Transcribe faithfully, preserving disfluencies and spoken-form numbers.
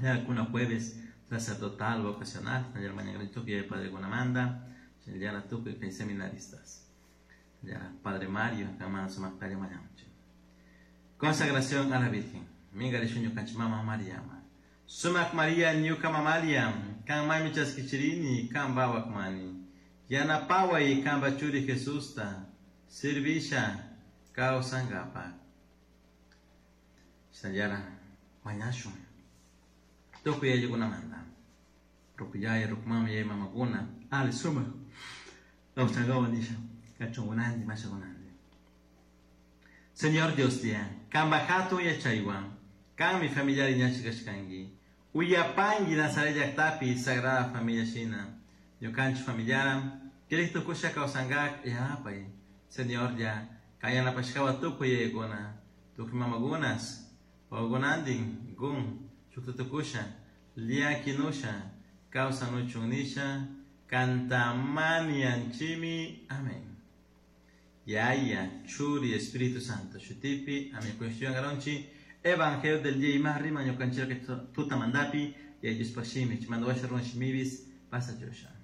Kuna jueves sacerdotal vocacional, mañana padre Gunamanda, tukuy kay seminaristas. Ya, Padre Mario, kama sumak mañanchi. Consagración a la Virgen. Minga ñukanchik mama Mariama. Sumak Maria ñuka mamalia, kan mami chaskichirini, kan mani. Yanapaway kanpa churi Jesusta, servisha kawsankapak. Shinallara mañashun. Tukuy ayllukunamanta. Rukuyaya, rukumama, yaya mamakuna, ali sumak. Kawsankawa nisha, kachunkunanti, mashakunanti. Señor Dios dia, kanpa hatun yachaywan, kanmi familiar iñachi kashkanki. Uyapanki Nazaret llaktapi Sagrada Familia shina. Ñukanchik familiaram, kirik tukusha kawsankak yanapay. Señor ya, kan yanapashkawa tukuy yayakuna, tukuy mamakunas, wawakunantin, gun, shukta tukusha, llakinusha, kawsanuchun nisha, kantamanianchimi. Amén. Yaya, Churi, Espíritu Santo, Shutipi, Amén. Cuestión garonchi, Evangelio del día y más rima, ñukanchik tutamandapi, y ellos pashimi, chimando shimibis, pasa yosha.